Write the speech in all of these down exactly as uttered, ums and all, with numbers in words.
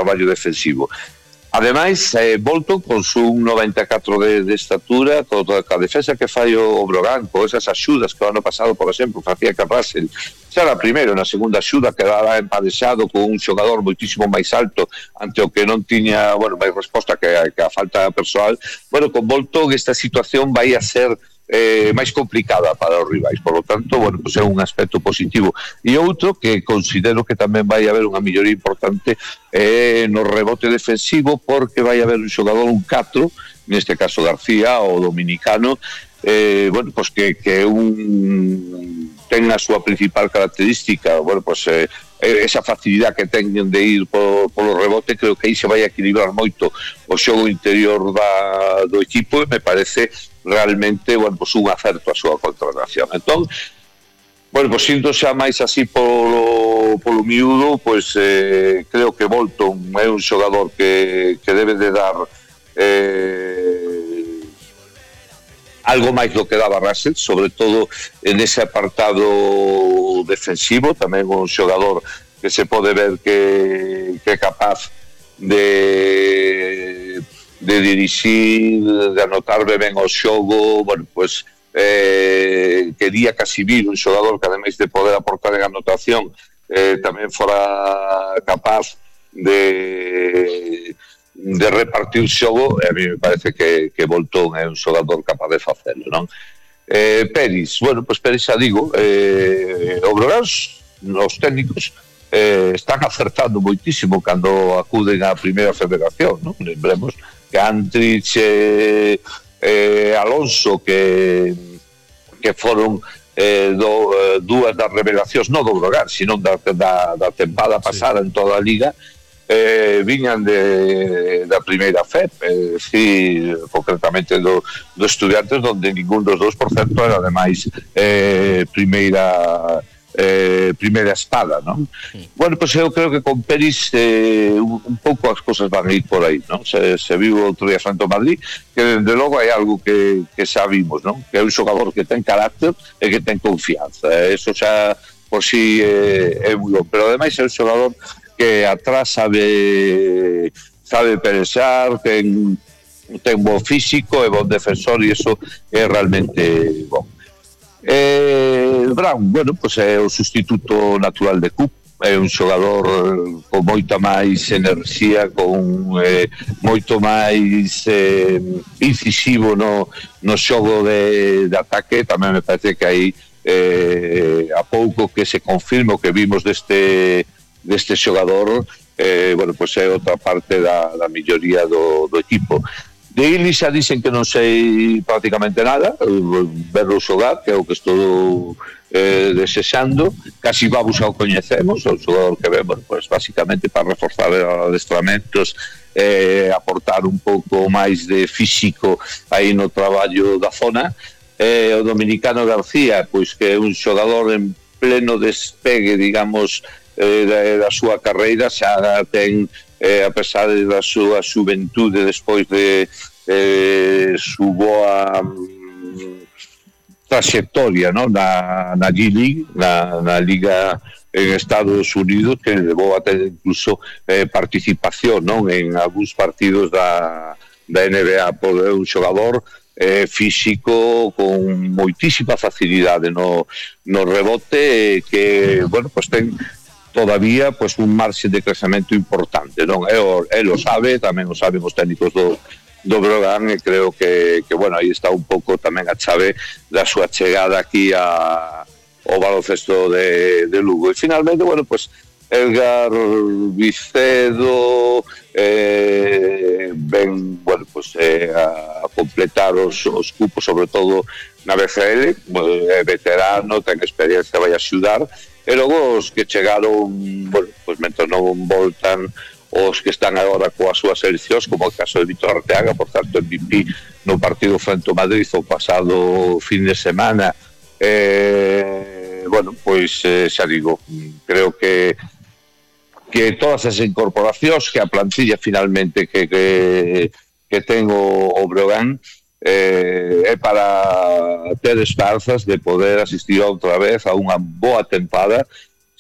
traballo defensivo. Ademais, eh, Bolton, con un noventa e catro de, de estatura, toda a defensa que fai o, o Brogan, con esas axudas que o ano pasado, por exemplo, facía que Russell xa era primeiro, na segunda axuda quedara empadexado con un xogador moitísimo máis alto ante o que non tiña, bueno, máis resposta que, que a falta persoal. Bueno, con Bolton esta situación vai a ser Eh, máis complicada para os rivais, por lo tanto, bueno, pues é un aspecto positivo. E outro que considero que tamén vai haber unha melloría importante eh, no rebote defensivo, porque vai haber un xogador, un catro, neste caso García, o dominicano, eh, bueno, pues que, que un ten a súa principal característica, bueno, pues eh, esa facilidade que teñen de ir polo, polo rebote. Creo que aí se vai a equilibrar moito o xogo interior da, do equipo, e me parece realmente, bueno, pues un acerto a súa contratación. Entón, bueno, pues siendo xa máis así polo, polo miúdo, pues eh, creo que Bolton é un xogador que, que debe de dar eh, algo máis do que daba Russell, sobre todo en ese apartado defensivo. Tamén un xogador que se pode ver que, que é capaz de de dirixir, de anotar ben o xogo. Bueno, pues eh, quería casi vir un xogador que, ademais de poder aportar en anotación, eh, tamén fora capaz de de repartir xogo. E a mí me parece que, que Bolton é un xogador capaz de facelo, non? Eh, Peris, bueno, pues Peris xa digo, eh, o Brogan, os técnicos eh, están acertando moitísimo cando acuden á primeira federación, non? Lembremos que Antrich e eh, Alonso, que que foron eh, do, eh, dúas das revelacións, non do Brogan, sino da, da, da tempada pasada, sí, en toda a liga, eh, viñan de, da primeira F E P, eh, sí, concretamente do, do Estudiantes, donde ningún dos dous, por certo, era ademais eh, primeira Eh, primeira espada, non? Sí. Bueno, pois pues eu creo que con Peris eh, un, un pouco as cosas van a ir por aí, non? Se, se viu outro día Santo Madrid, que desde logo hai algo que, que xa vimos, non? Que é un xogador que ten carácter e que ten confianza. Eso xa por si eh, é moi bom, pero ademais é un xogador que atrás sabe sabe pelexar, ten ten bo físico, é bon defensor, e iso é realmente bon. Eh, Brown, bueno, pues é o sustituto natural de Cook, é un xogador con moita máis enerxía, con eh, moito máis eh, incisivo no, no xogo de, de ataque. Tamén me parece que aí eh, a pouco que se confirme o que vimos deste, deste xogador, eh, bueno, pues é outra parte da, da melloría do, do equipo. De Illy xa dicen que non sei prácticamente nada, verlo xogar, que é o que estou eh, desexando. Casi vamos ao coñecemos, o xogador que vemos, pues, basicamente para reforzar adestramentos, eh, aportar un pouco máis de físico aí no traballo da zona. Eh, o dominicano García, pois que é un xogador en pleno despegue, digamos, eh, da, da súa carreira, xa ten... Eh, a pesar da súa xuventude, despois de eh, su boa um, trayectoria, ¿no? na, na G-League, na, na Liga en Estados Unidos, que levou a ter incluso eh, participación, ¿no? en algúns partidos da, da N B A. Por un xogador eh, físico con moitísima facilidade no, no rebote, que, bueno, pues ten todavía pues un marxe de crecemento importante, non? Él o sabe, tamén o saben os técnicos do, do Brogan, e creo que, que, bueno, aí está un pouco tamén a chave da súa chegada aquí a, ao baloncesto de, de Lugo. E finalmente, bueno, pues Edgar Vicedo eh, ven, bueno, pues eh, a completar os, os cupos, sobre todo na B C L, é veterano, ten experiencia, vai a axudar. E logo os que chegaron, bueno, pues mentre non voltan os que están agora coas súas seleccións, como o caso de Víctor Arteaga, por tanto, M V P no partido frente ao Madrid o pasado fin de semana. Eh, bueno, pois eh, xa digo, creo que que todas as incorporacións, que a plantilla finalmente que, que, que ten o, o Brogan, Eh, é para ter esperanzas de poder asistir outra vez a unha boa tempada,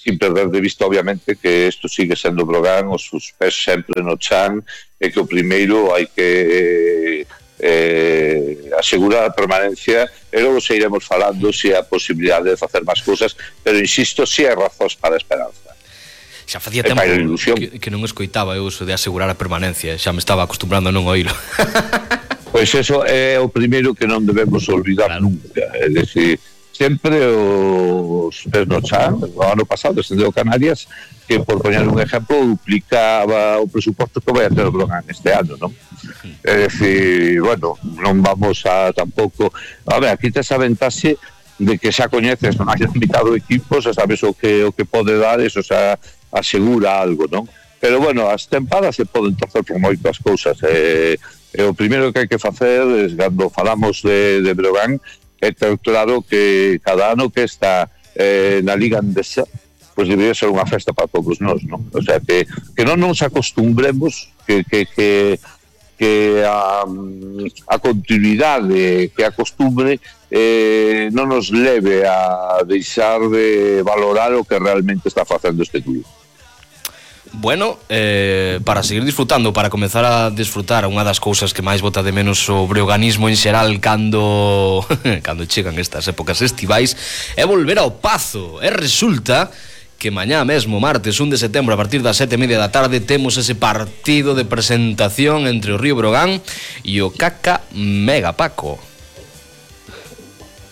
sin perder de vista, obviamente, que isto sigue sendo Brogan, os seus pés sempre no chan, e que o primeiro hai que eh, asegurar a permanencia, e logo se iremos falando se a posibilidade de facer máis cousas, pero insisto, si hai razóns para a esperanza. Xa facía tempo que, que non escoitaba eu iso de asegurar a permanencia, xa me estaba acostumbrando a non oílo. Pois eso é o primeiro que non debemos olvidar, claro, nunca. É dicir, sempre os pés no chan. O ano pasado descendeu Canarias, que por poñer un exemplo duplicaba o presuposto que vai a ter o Brogan este ano, non? É dicir, bueno, non vamos a tampouco... A ver, aquí tes a ventaxe de que xa coñeces, non hai limitado equipos, xa sabes o que o que pode dar, eso xa asegura algo, non? Pero bueno, as tempadas se poden torcer por moitas cousas. Eh, e o primeiro que hai que facer é, cando falamos de, de Brogan, é ter claro que cada ano que está eh, na Liga Andesa, pois debería ser unha festa para todos nós, non? O sea, que, que non nos acostumbremos que, que, que, que a, a continuidade, que a costumbre eh, non nos leve a deixar de valorar o que realmente está facendo este club. Bueno, eh, para seguir disfrutando, para comezar a disfrutar, unha das cousas que máis bota de menos o breoganismo en xeral cando cando chegan estas épocas estivais é volver ao Pazo. E resulta que mañá mesmo, martes un de setembro, a partir das sete e media da tarde, temos ese partido de presentación entre o Río Brogan e o Caca Mega Paco.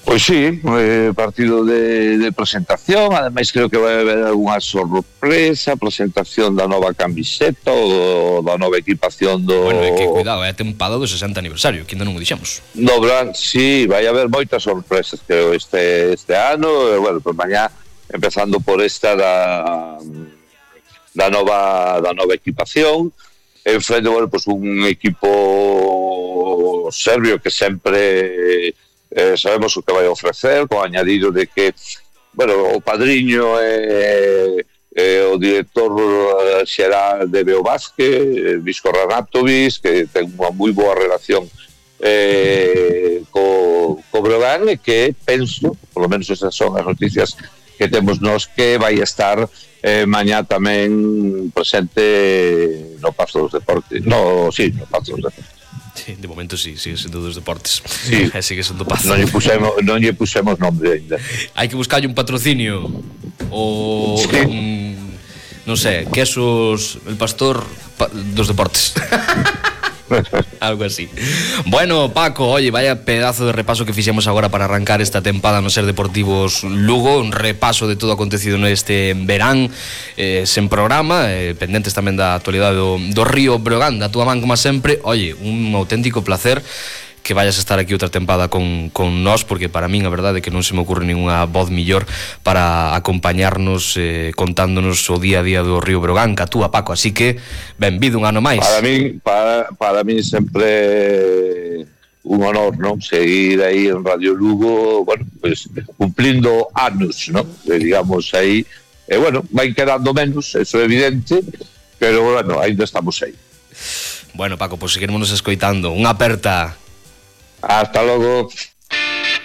Pois sí, eh, partido de, de presentación, ademais creo que vai haber algunha sorpresa, presentación da nova camiseta ou da nova equipación do... Bueno, é que cuidado, é a tempada do sesenta aniversario, que ainda non o dixemos. No, Bran, sí, vai haber moitas sorpresas, creo, este, este ano, e, bueno, pues mañá, empezando por esta da, da nova da nova equipación, en frente, bueno, pues un equipo serbio que sempre... Eh, sabemos o que vai ofrecer, con añadido de que, bueno, o padriño é, é o director xeral de Beo Vázquez, Visko Ranatovic, que ten unha moi boa relación eh, co, co Brogan, e que penso, por lo menos esas son as noticias que temos nós, que vai estar eh, mañá tamén presente no Pazo dos Deportes. No, sí, no Pazo dos Deportes. Sí, de momento sí, sigue sendo dos deportes. Sí, sigue sendo Pazo. Non lle pusemos, non lle pusemos nombre ainda. Hai que buscarlle un patrocinio. O sí. un, non sei, quesos el pastor pa, dos deportes. Algo así. Bueno, Paco, oye, vaya pedazo de repaso que fixemos agora para arrancar esta tempada no Ser Deportivos Lugo, un repaso de todo acontecido neste verán, eh, sen programa, eh, pendentes tamén da actualidade do, do Río Brogan, da túa man como sempre. Oye, un auténtico placer que vayas a estar aquí outra tempada con, con nós, porque para min a verdade é que non se me ocurre ninguna voz millor para acompañarnos eh, contándonos o día a día do Río Brogan, ca túa, Paco, así que benvido un ano máis. Para min, para, para min sempre un honor, non? Seguir aí en Radio Lugo, bueno, pues cumplindo anos, non? Digamos aí, e bueno, vai quedando menos, eso é evidente, pero bueno, ainda estamos aí. Bueno, Paco, pois pues seguiremos escoitando. Unha aperta. Hasta logo.